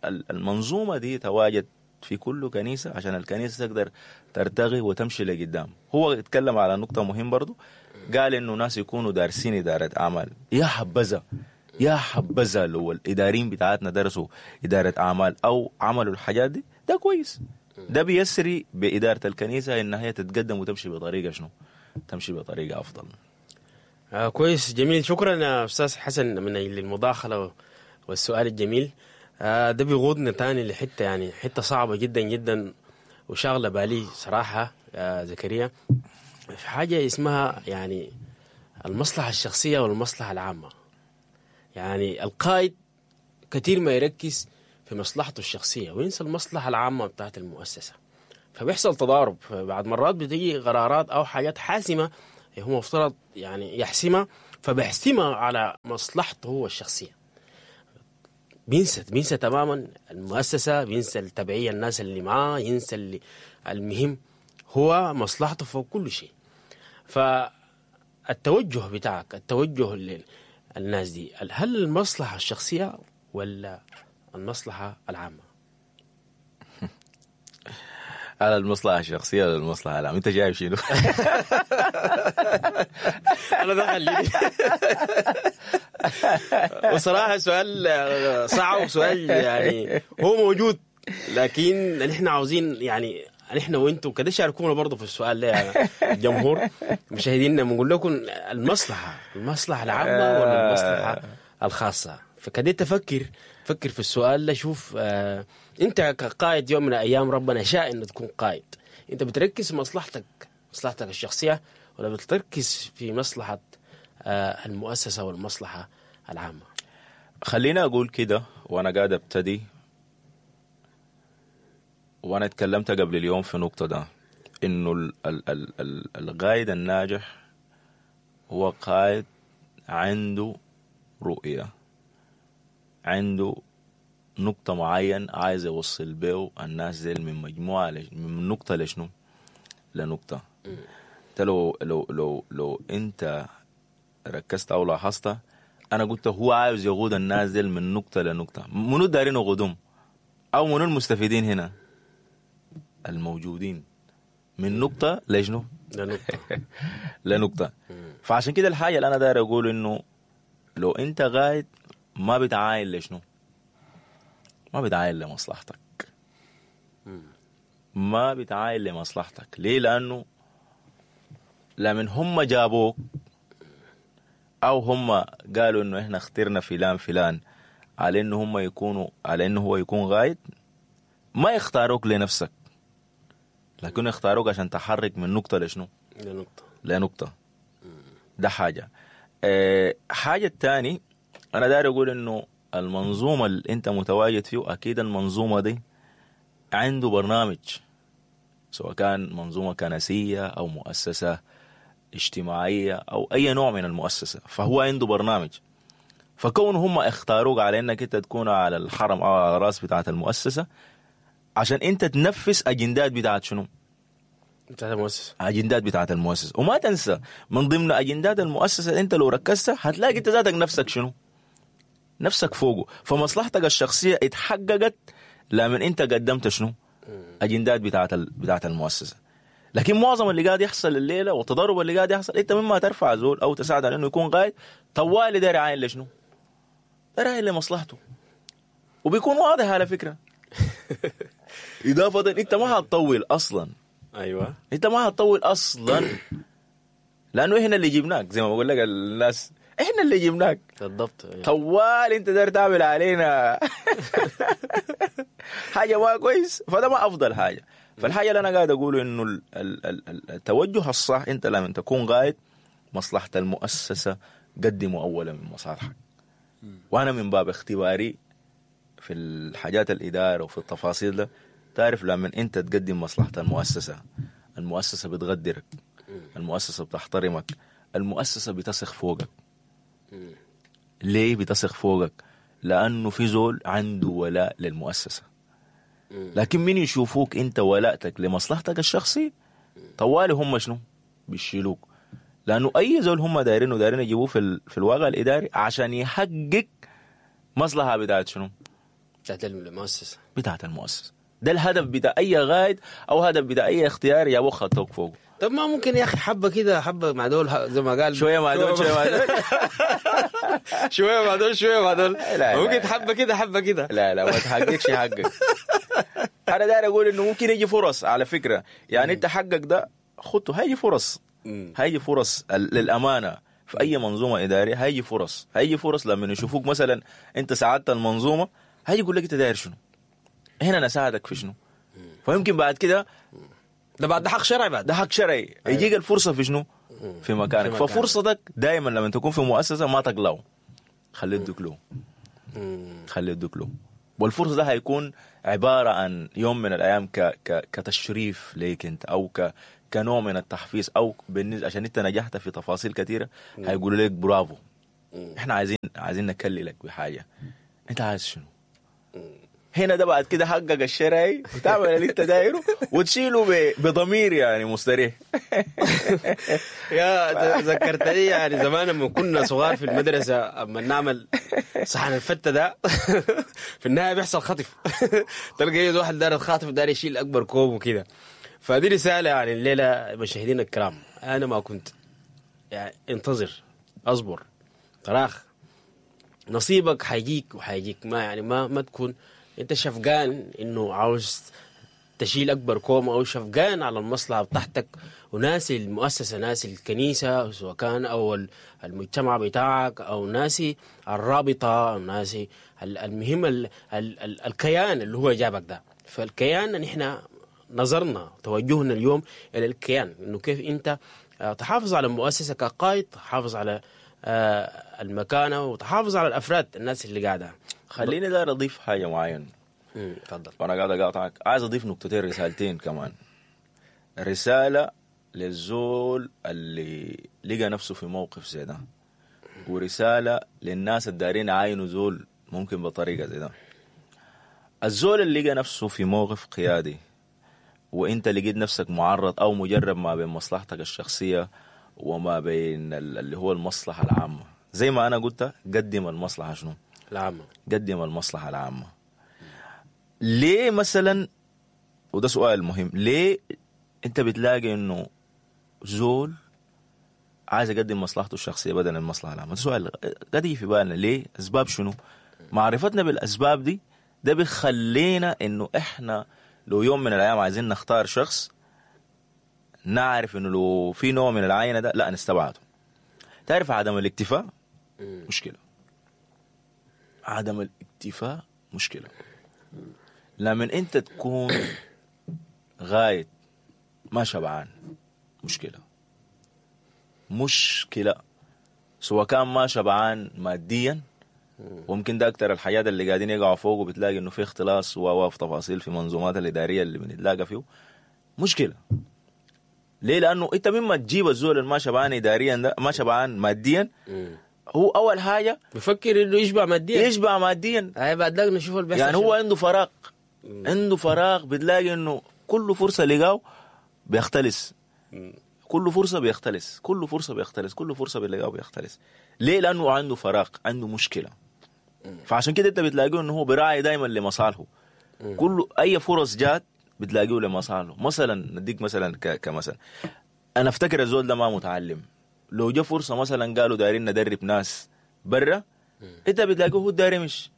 المنظومة دي تواجد في كل كنيسة عشان الكنيسة تقدر ترتقي وتمشي لقدام. هو اتكلم على نقطة مهمة برضو، قال انه ناس يكونوا دارسين ادارة اعمال. يا حبذا يا حبذا لو الاداريين بتاعتنا درسوا ادارة اعمال او عملوا الحاجات دي، ده كويس. ده بيسري بادارة الكنيسة انها هي تتقدم وتمشي بطريقة شنو؟ تمشي بطريقة افضل. كويس، جميل. شكرا يا استاذ حسن من اجل المداخلة والسؤال الجميل. ده بيقودنا تاني لحته، يعني حتة صعبة جدا جدا وشاغله بالي صراحة يا زكريا، في حاجة اسمها يعني المصلحة الشخصية والمصلحة العامة. يعني القائد كثير ما يركز في مصلحته الشخصية وينسى المصلحة العامة بتاعت المؤسسة، فبيحصل تضارب. بعد مرات بتيجي قرارات او حاجات حاسمة هو مفترض يعني يحسمها، فبيحسمها على مصلحته هو الشخصية. بينسى تماما المؤسسة، بينسى التبعية الناس اللي معاه، ينسى اللي المهم هو مصلحته فوق كل شيء. فالتوجه بتاعك، التوجه للناس دي، هل المصلحة الشخصية ولا المصلحة العامة؟ على المصلحة الشخصية ولا المصلحة العامة؟ انت جايب شنو؟ انا ده خليني. وصراحة سؤال صعب، وسؤال يعني هو موجود، لكن نحن عاوزين يعني نحن وانتم كده شاركونا برضه في السؤال ده يا الجمهور مشاهدينا. بنقول لكم المصلحة العامة ولا المصلحة الخاصة؟ فكده تفكر فكر في السؤال ده. شوف انت كقائد يوم من الايام ربنا شاء انه تكون قائد، انت بتركز في مصلحتك الشخصية ولا بتركز في مصلحة المؤسسة والمصلحة العامة؟ خلينا اقول كده وانا قاعد ابتدي، وانا اتكلمت قبل اليوم في نقطة ده، انه القائد الناجح هو قائد عنده رؤية، عنده نقطة معين عايز يوصل بيه الناس دي من مجموعة من نقطة لشنو؟ لنقطة. انت لو لو لو لو انت ركزت او لاحظت، انا قلت هو عاوز يقود الناس دي من نقطة لنقطة. منو دارين يقودهم؟ او منو المستفيدين هنا؟ الموجودين من نقطة لشنو؟ لنقطة. لنقطة. فعشان كده الحاجة اللي انا داير اقول انه لو انت قاعد ما بتعاين لشنو؟ ما بتعاين لمصلحتك. ما بتعاين لمصلحتك. ليه؟ لأنه لمن هم جابوك أو هم قالوا إنه إحنا اخترنا فلان فلان على إنه هم يكونوا، على إنه هو يكون قائد، ما يختاروك لنفسك، لكن يختاروك عشان تحرك من نقطة لشنو؟ لنقطة. لنقطة. ده حاجة. حاجة الثاني أنا داير أقول إنه المنظومة اللي أنت متواجد فيه، أكيد المنظومة دي عنده برنامج، سواء كان منظومة كنسية أو مؤسسة اجتماعية أو أي نوع من المؤسسة، فهو عنده برنامج. فكون هم اختاروك على إنك أنت تكون على الحرم أو على الرأس بتاعة المؤسسة عشان أنت تنفذ أجندات بتاعة شنو؟ بتاعة المؤسسة. أجندات بتاعة المؤسسة. وما تنسى من ضمن أجندات المؤسسة أنت لو ركزت هتلاقي أنت ذاتك نفسك شنو؟ نفسك فوقه. فمصلحتك الشخصية اتحققت لمن انت قدمت شنو؟ اجندات بتاعت المؤسسة. لكن معظم اللي قاعد يحصل الليلة والتضارب اللي قاعد يحصل، انت مما ترفع زول او تساعد على انه يكون قائد، طوالي داير عاين لشنو؟ داير عاين لمصلحته، وبيكون واضح على فكرة. اضافة انت ما هتطول اصلا. ايوه، انت ما هتطول اصلا، لانه احنا اللي جبناك، زي ما بقول لك الناس احنا اللي جبناك بالضبط. طوال انت داير تعمل علينا حاجة ما كويس، فده ما افضل حاجة. فالحاجه اللي انا قاعد اقوله انه التوجه الصح، انت لما تكون قائد مصلحة المؤسسة قدموا اولا من مصالحك. وانا من باب اختباري في الحاجات الادارة وفي التفاصيل ده، تعرف لما انت تقدم مصلحة المؤسسة، المؤسسة بتقدرك، المؤسسة بتحترمك، المؤسسة بتثق فوقك. ليه بتثق فوقك؟ لأنه في زول عنده ولاء للمؤسسة. لكن من يشوفوك أنت ولاءتك لمصلحتك الشخصي، طوالي هم شنو؟ بيشيلوك. لأنه أي زول هم دايرينه دايرين يجيبوه في الواقع الإداري عشان يحقق مصلحة بتاعت شنو؟ بتاعت المؤسسة. بتاعت المؤسسة. ده الهدف بتاع اي قائد او هدف بتاع اي اختيار يا ابو خطوك فوق. طب ما ممكن يا اخي حبه كده، حبه مع دول، زي ما قال شوية مع دول، شوية مع دول. شوية مع دول، شوية مع دول. لا، لا، ممكن لا. حبه كده حبه كده. لا لا، ما تحققش حقك. انا داير اقول انه ممكن يجي فرص على فكرة، يعني انت حقك ده خده، هيجي فرص، هيجي فرص للامانة في اي منظومة ادارية هيجي فرص، هيجي فرص لما يشوفوك مثلا انت ساعدت المنظومة، هيجي يقول لك انت داير شنو؟ هنا انا ساعدك في شنو؟ فيمكن بعد كده ده بعد ده حق شرعي بعد ده حق شرعي. يجيك الفرصة في شنو؟ في مكانك. في مكانك. ففرصتك دائما لما تكون في مؤسسة ما تقلعه، خليه يدوك له، خليه يدوك له. والفرصة ده هيكون عبارة عن يوم من الايام ك ك كتشريف ليك انت، او كنوع من التحفيز، او بالنسبة عشان انت نجحت في تفاصيل كثيرة هيقولوا لك برافو، احنا عايزين نكللك بحاجة، انت عايز شنو؟ هنا ده بعد كده حقك الشرعي وتعمل اللي انت دايرة وتشيله بضمير يعني مستريح. يا ذكرتني يعني زمان لما كنا صغار في المدرسة، اما نعمل صحن الفته ده في النهاية بيحصل خطف. تلقى يد واحد داير الخاطف، داير يشيل اكبر كوم وكده. فدي رسالة يعني الليلة مشاهدينا الكرام، انا ما كنت يعني انتظر، اصبر، تراخ، نصيبك حيجيك وحيجيك. ما يعني ما تكون انت شفقان انه عاوز تشيل اكبر كوم، او شفقان على المصلحة بتاعتك وناسي المؤسسة، ناسي الكنيسة سواء كان او المجتمع بتاعك، او ناسي الرابطة، او ناسي المهم ال ال ال الكيان اللي هو جابك ده. فالكيان نحن نظرنا توجهنا اليوم الى الكيان، انه كيف انت تحافظ على المؤسسة كقائد، تحافظ على المكانة، وتحافظ على الافراد الناس اللي قاعدة. خليني داير اضيف حاجة معينة. تفضل. وانا قاعد اقاطعك، عايز اضيف نقطتين، رسالتين كمان. رسالة للزول اللي لقى نفسه في موقف زي ده، ورسالة للناس الدارين عاينوا زول ممكن بطريقة زي ده. الزول اللي لقى نفسه في موقف قيادي وانت لقيت نفسك معرض او مجرب ما بين مصلحتك الشخصية وما بين اللي هو المصلحة العامة، زي ما انا قلت قدم المصلحة شنو؟ العامة. قدم المصلحة العامة. ليه مثلا، وده سؤال مهم، ليه انت بتلاقي انه زول عايز يقدم مصلحته الشخصية بدل المصلحة العامة؟ ده سؤال قد يجي في بالنا، ليه؟ اسباب شنو؟ معرفتنا بالاسباب دي ده بيخلينا انه احنا لو يوم من الايام عايزين نختار شخص نعرف انه لو في نوع من العينة ده لا نستبعده. تعرف عدم الاكتفاء مشكلة، عدم الاكتفاء مشكلة. لما انت تكون غاية ما شبعان مشكلة، مشكلة سواء كان ما شبعان ماديا، وممكن ده اكتر الحاجات اللي قاعدين يقعوا فوق، وبتلاقي انه في اختلاس وفي تفاصيل في منظومات الادارية اللي بنتلاقى فيه مشكلة. ليه؟ لانه انت مما تجيب الزول اللي ما شبعان اداريا ده، ما شبعان ماديا، هو اول حاجة بفكر انه يشبع ماديا، يشبع ماديا. اي بعد ذاك نشوف اللي بيحصل. يعني هو عنده فراغ، عنده فراغ، بتلاقي انه كل فرصة لقاه بيختلس، كل فرصة بيختلس، كل فرصة بيختلس، كل فرصة بيلاقاه بيختلس. ليه؟ لانه عنده فراغ، عنده مشكلة. فعشان كده انت بتلاقيه انه هو براعي دائما لمصالحه، كل اي فرص جات بتلاقيه لمصالحه. مثلا نديك مثلا كمثلا، انا افتكر الزول ده ما متعلم، لو جا فرصة مثلا قالوا دايرين ندرب ناس برا، انت بتلاقيه هو داير يمشي.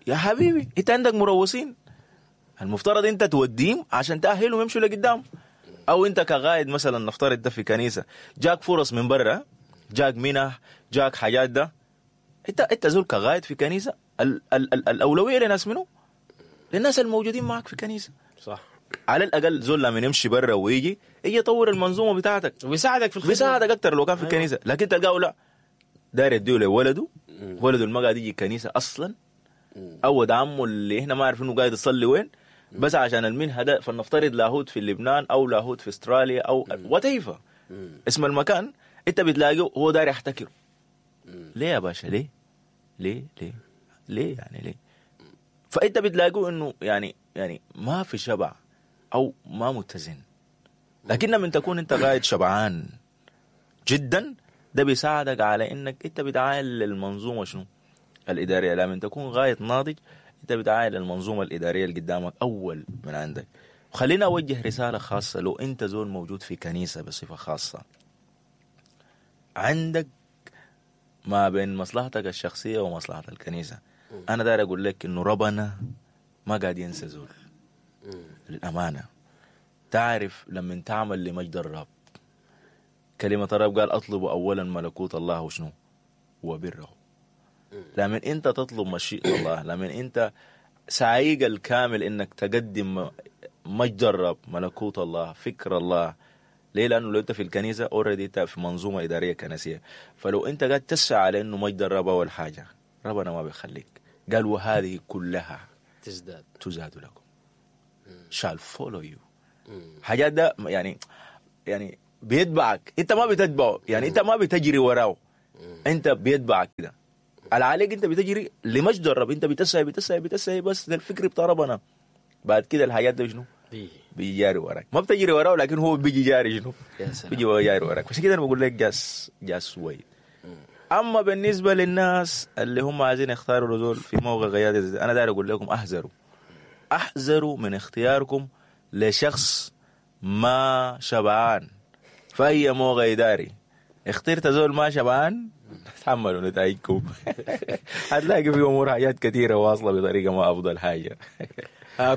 يا حبيبي انت عندك مروسين، المفترض انت توديهم عشان تاهلهم يمشوا لقدام. او انت كغايد مثلا نفترض ده في كنيسة، جاك فرص من برا، جاك منح، جاك حاجات ده، انت زول كغايد في كنيسة، ال ال ال الاولوية لناس منو؟ للناس الموجودين معك في كنيسة. صح. على الاقل زول لما يمشي برا ويجي يجي يطور المنظومة بتاعتك ويساعدك في الخدمة، بيساعدك اكثر لو كان في الكنيسة. لكن تلقاه لا داير يديه لولده، ولده ما قاعد يجي الكنيسة اصلا، او ولد عمه اللي احنا ما عارفين انه قاعد يصلي وين، بس عشان المنهى ده. فلنفترض لاهوت في لبنان او لاهوت في استراليا او whatever اسم المكان، انت بتلاقيه هو داير يحتكره. ليه يا باشا؟ ليه ليه ليه ليه يعني ليه؟ فانت بتلاقيه انه يعني ما في شبع او ما متزن. لكن لما تكون انت قاعد شبعان جدا، ده بيساعدك على انك انت بتعاين للمنظومة شنو الادارية. لما تكون غاية ناضج انت بتعاين للمنظومة الادارية اللي قدامك اول من عندك. خلينا اوجه رسالة خاصة، لو انت زول موجود في كنيسة بصفة خاصة، عندك ما بين مصلحتك الشخصية ومصلحه الكنيسة، انا داير اقول لك انه ربنا ما قاعد ينسى زول. للامانة تعرف لما تعمل لمجد الرب، كلمة الرب قال اطلبوا اولا ملكوت الله وشنو؟ وبره. لما انت تطلب مشيئة الله، لما انت سعيك الكامل انك تقدم مجد الرب، ملكوت الله، فكر الله. ليه؟ لانه لو انت في الكنيسة already انت في منظومة ادارية كنسية، فلو انت قاعد تسعى على انه مجد الرب اول حاجة، ربنا ما بيخليك. قال وهذه كلها تزداد تزاد لكم، shall follow you. حاجات ده يعني بيتبعك، انت ما بتتبعه، يعني انت ما بتجري وراه، انت بيتبعك كده. على عليك انت بتجري لمجد الرب، انت بتسعي بتسعي بتسعي بس للفكر بتاع ربنا. بعد كده الحاجات ده شنو؟ بيجي جاري وراك، ما بتجري وراه لكن هو بيجي جاري شنو؟ يا سلام. بيجي جاري وراك. عشان كده انا بقول لك just wait. اما بالنسبة للناس اللي هم عايزين يختاروا زول في موقع قيادة، انا داير اقول لكم احذروا، احذروا من اختياركم لشخص ما شبعان في اي موقع اداري. اخترت زول ما شبعان، تحملوا نتائجكم. هتلاقي في امور حاجات كثيرة واصله بطريقة ما افضل حاجة.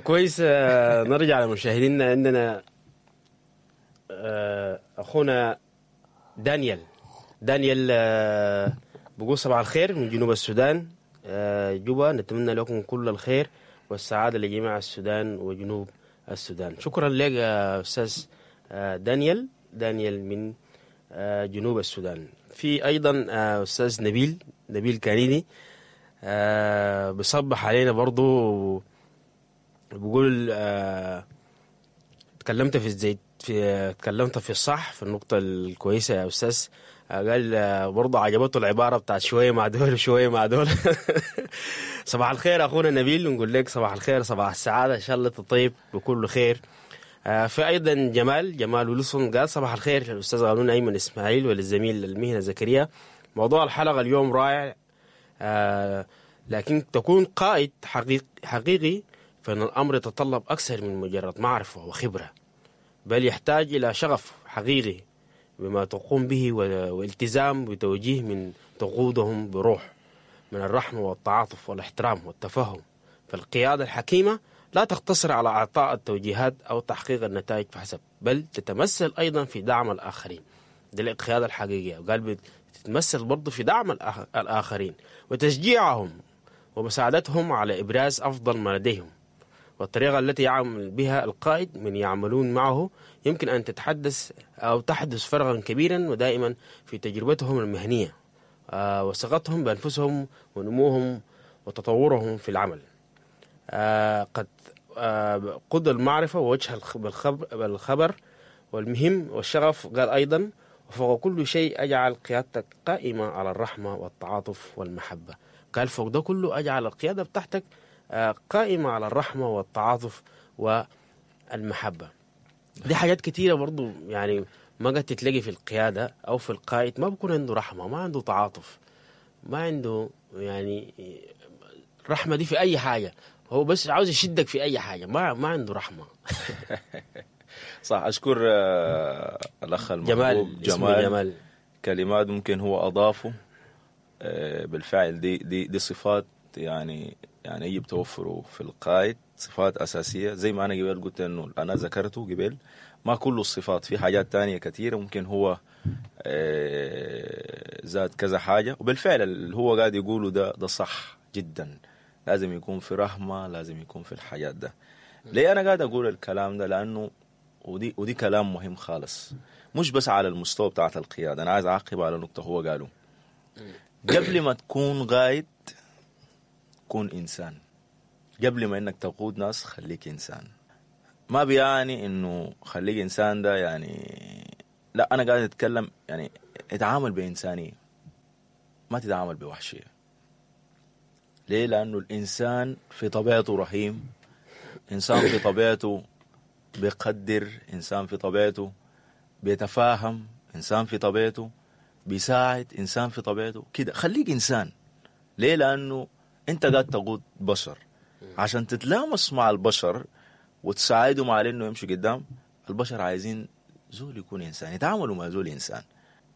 كويس. نرجع لمشاهدينا. عندنا اخونا دانيال. دانيال بقول صباح الخير من جنوب السودان، جوبا. نتمنى لكم كل الخير والسعادة لجميع السودان وجنوب السودان. شكرا لك يا استاذ دانيال. دانيال من جنوب السودان. في ايضا استاذ نبيل كانيني بصبح علينا برضو، بقول تكلمت في الزيت، في تكلمت في الصح في النقطة الكويسة يا أستاذ. قال برضه عجبته العبارة بتاعت شوية مع دول وشوية مع دول. صباح الخير أخونا نبيل، نقول لك صباح الخير، صباح السعادة، إن شاء الله تطيب بكل خير. في أيضا جمال ويلسون قال صباح الخير للأستاذ غانون أيمن إسماعيل وللزميل المهنة زكريا. موضوع الحلقة اليوم رائع، لكن تكون قائد حقيقي فإن الأمر يتطلب أكثر من مجرد معرفة وخبرة، بل يحتاج إلى شغف حقيقي بما تقوم به والتزام بتوجيه من تقودهم بروح من الرحمة والتعاطف والاحترام والتفهم. فالقيادة الحكيمة لا تقتصر على إعطاء التوجيهات أو تحقيق النتائج فحسب، بل تتمثل أيضا في دعم الآخرين. دي القيادة الحقيقية. وقال بتتمثل برضو في دعم الآخرين وتشجيعهم ومساعدتهم على إبراز أفضل ما لديهم. والطريقة التي يعمل بها القائد من يعملون معه يمكن أن تتحدث أو تحدث فرقا كبيرا ودائما في تجربتهم المهنية وثقتهم بأنفسهم ونموهم وتطورهم في العمل. قد قد المعرفة ووجه بالخبر والمهم والشغف. قال أيضا وفوق كل شيء أجعل قيادتك قائمة على الرحمة والتعاطف والمحبة. قال فوق ده كله أجعل القيادة بتاعتك قائمة على الرحمة والتعاطف والمحبة. دي حاجات كتيرة برضو يعني ما قد تتلاقي في القيادة أو في القائد. ما بكون عنده رحمة، ما عنده تعاطف، ما عنده يعني رحمة دي في أي حاجة. هو بس عاوز يشدك في أي حاجة، ما عنده رحمة. صح. أشكر الأخ المحبوب جمال. كلمات ممكن هو أضافه بالفعل. دي دي دي صفات يعني يجب توفره في القائد، صفات أساسية زي ما أنا قبل قلت إنه أنا ذكرته قبل. ما كل الصفات، في حاجات تانية كثيرة ممكن هو زاد كذا حاجة. وبالفعل اللي هو قاعد يقوله ده صح جدا. لازم يكون في رحمة، لازم يكون في الحاجات ده. ليه أنا قاعد أقول الكلام ده؟ لأنه ودي كلام مهم خالص، مش بس على المستوى بتاعت القيادة. أنا عايز أعقب على نقطة هو قاله. قبل ما تكون قائد كون إنسان. قبل ما إنك تقود ناس خليك إنسان. ما بيعني إنه خليك إنسان ده يعني لا، أنا قاعد أتكلم يعني اتعامل بإنسانية، ما تتعامل بوحشية. ليه؟ لأنه الإنسان في طبيعته رحيم، إنسان في طبيعته بيقدر، إنسان في طبيعته بيتفاهم، إنسان في طبيعته بيساعد، إنسان في طبيعته كده. خليك إنسان. ليه؟ لأنه أنت قاعد تقود بشر. عشان تتلامس مع البشر وتساعدهم على انه يمشوا قدام. البشر عايزين زول يكون انسان، يتعاملوا مع زول انسان.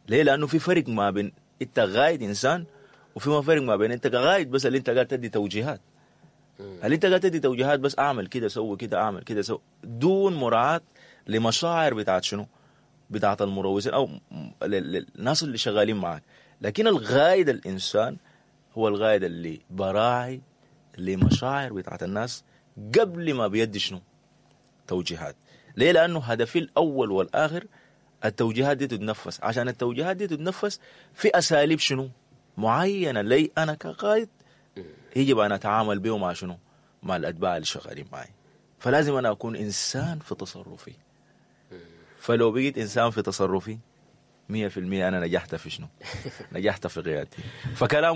ليه؟ لانه في فرق ما بين انت قايد انسان، وفي ما فرق ما بين انت قايد بس اللي انت قاعد تدي توجيهات. اللي انت قاعد تدي توجيهات بس اعمل كده، سوي كده، اعمل كده، سوي، دون مراعاة لمشاعر بتاعت شنو؟ بتاعت المروسين او للناس اللي شغالين معك. لكن الغايد الانسان هو الغايد اللي براعي لمشاعر بتاعت الناس قبل ما بيدي شنو؟ توجيهات. ليه؟ لانه هدفي الاول والاخر التوجيهات دي تتنفس. عشان التوجيهات دي تتنفس في اساليب شنو؟ معينة لي انا كقائد يجب ان اتعامل به مع شنو؟ مع الاتباع اللي شغالين معي. فلازم انا اكون انسان في تصرفي. فلو بقيت انسان في تصرفي 100% انا نجحت في شنو؟ نجحت في قيادتي. فكلام